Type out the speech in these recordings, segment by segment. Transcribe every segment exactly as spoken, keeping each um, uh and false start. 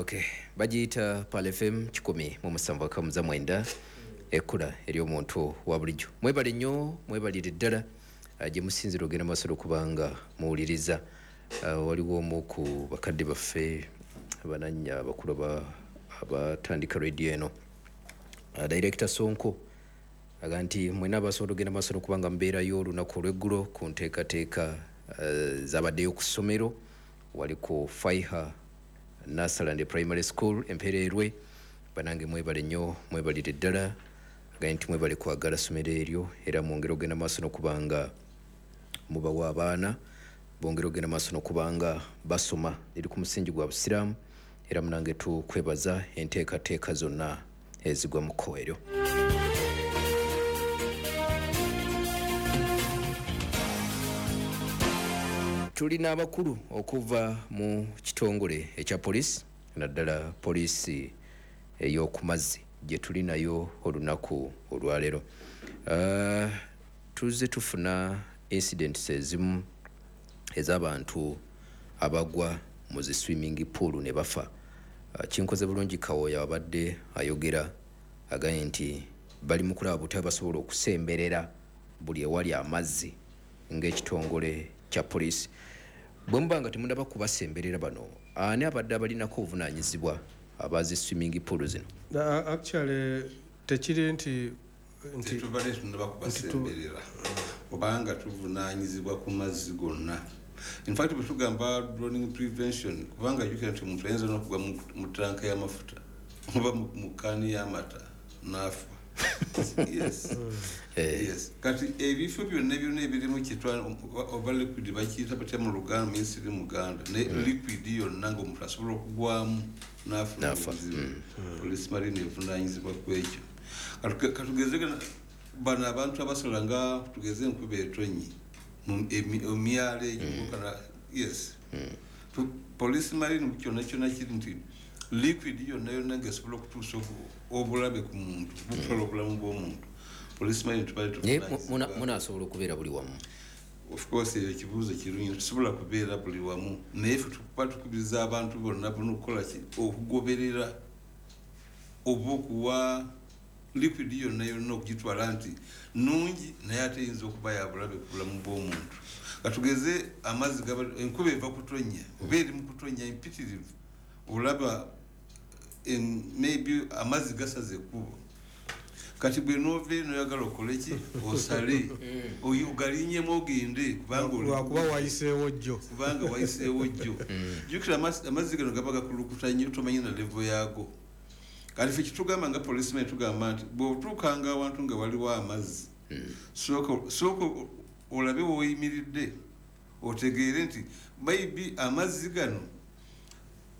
Okay, bagiyita Pearl F M kikumi mu musanvu akamuza mwenda, ekkula ery'omuntu wa bulijjo. Mwebale nnyo, mwebalire ddala ah, gye musinzira ogenda maaso okubanga muwuliriza. Ah, waliwo omu ku bakadde baffe abanannya abakulu aba- abatandika radio eno, Ah, Director Sonko, aga nti mwena abasobola ogenda maaso n'okubanga mubeerayo olunaku olw'eggulo ku nteekateeka eh, zabaddeyo ku ssomero wali ku Faiha Nursery Primary School Empereerwe. Banange, mwebale nnyo, mwebalire ddala. Agaye nti mwebale kwagala ssomero eryo, era mwongere ogenda maaso n'okubanga mubawa abaana bongere ogenda maaso n'okubanga basoma, liri ku musingi gwa Busiraamu. Era munange tukwebaza enteekateeka zonna ezigwa mu kkowa eryo. Tulina abakulu okuva mu kitongole ekya poliisi, naddala poliisi ey'okumazzi gye tuli nayo olunaku olwaleero. Uh, tuzze tufuna incidents ezimu ez'abantu abagwa mu zi swimming pool ne bafa. Uh, kinkoze bulungi Kawooya abadde ayogera, agambye nti bali mu kulaba butya basobola okusemberera buli ewali amazzi ng'ekitongole kya poliisi. Bwe muba nga temunaba kubasemberera bano, ani abadde abalinako obuvunaanyizibwa abazi swimming pool zino? Uh, actually tekiri nti nti Tetubadde tunaba kubasemberera, kubanga tuvunaanyizibwa ku mazzi gonna. In fact, bwe tugamba drowning prevention, kubanga jjukira nti omuntu ayinza n'okugwa mu- mu tanka y'amafuta oba mu- mu kaani y'amata n'afa. yes yes Kati ebifo byonna byonna ebirimu kitwa oba liquid, bakiyita batya mu Luganda? Minisiri Muganda ne liquid yonna ngaomuntu asobola okugwamu n'afuna N'afa. obuzibu, Police Marine evunanyizibwa ku ekyo. Katuge- katugeze gana- bano abantu abasala nga tugeze enkuba etonyi mu emi- emyalo egyo kana, yes. Tu- police Marine kyonna kyonna kiri nti liquid yonna yonna ngaesobola okutuusa obu- obulabe ku muntu, butwala obulamu bw'omuntu, Police Marine tubadde Naye mu- muna- tuvunaanyizibwa. Munaasobola okubeera buli wamu? Of course, eyo ekibuuzo kirungi. Tusobola kubeera buli wamu, naye ffe tukuba tukubiriza abantu bonna bonna okukola ki? Okugoberera oba okuwa liquid yonna yonna okugitwala nti nungi, naye ate eyinza okuba yabulabe ku bulamu bw'omuntu. Katugeze amazzi gaba- enkuba eva kutonnya oba eri mu kutonnya empitirivu, olaba em, maybe amazzi gasaze ekkubo. Kati bwe noova eno oyagala okole ki? Osale oyo ogalinyemu ogende, kubanga oli Lwakuba wayiseewo jjo. Kubanga wayiseewo jjo. Jjukira amazzi amazzi gano gaba gakulukuta nnyo, tomanyi na level yaago. Kati ffe kitugamba nga policeman, tugamba nti bw'otuukanga awantu nga waliwo amazzi, sooka sooka olabe woyimiridde, otegeere nti maybe amazzi gano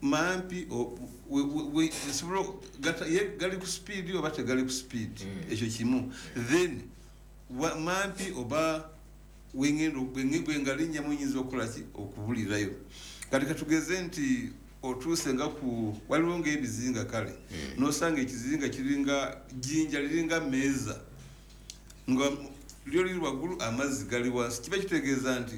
mampi, o- we- we- we- nsobola gata- ye gali ku speed oba tegali ku speed. Ekyo kimu. Then wa- mampi oba wengendo bwengalinyamu nyinza okukola ki? Okubulirayo. Kati katugeze nti otuuse nga ku waliwo ngaebizinga, kale nosanga ekizinga kiringa jjinja, liringa meeza, nga lyo liri waggulu, amazzi gali wansi, kiba kitegeeza nti